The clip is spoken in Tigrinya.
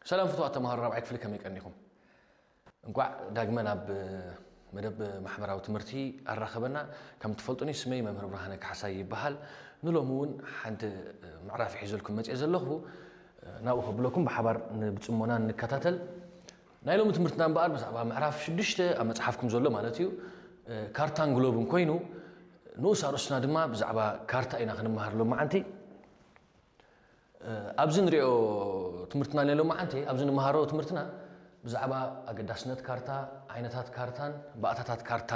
ሰላም ፍቱዋት ተምሃሮ ራብዓይ ክፍሊ፣ ከመይ ቀኒኹም? እንቋዕ ዳግመ ናብ መደብ ማሕበራዊ ትምህርቲ ኣራኸበና። ከም ትፈልጡኒ ስመይ መምህር ብርሃነ ካሕሳይ ይበሃል። ንሎሚ እውን ሓንቲ ምዕራፍ ሒዘልኩም መፅየ ዘለኹ፣ ናብኡ ከብለኩም ብሓባር ብፅሞና ንከታተል። ናይ ሎሚ ትምህርትና እምበኣር ብዛዕባ ምዕራፍ ሽዱሽተ ኣብ መፅሓፍኩም ዘሎ ማለት እዩ፣ ካርታን ግሎብን ኮይኑ፣ ንኡስ ኣርእስትና ድማ ብዛዕባ ካርታ ኢና ክንመሃር ሎመዓንቲ። ኣብዚ ንሪኦ ትምህርትና ናይ ሎመዓንቲ፣ ኣብዚ ንምሃሮ ትምህርትና ብዛዕባ ኣገዳስነት ካርታ፣ ዓይነታት ካርታን ባእታታት ካርታን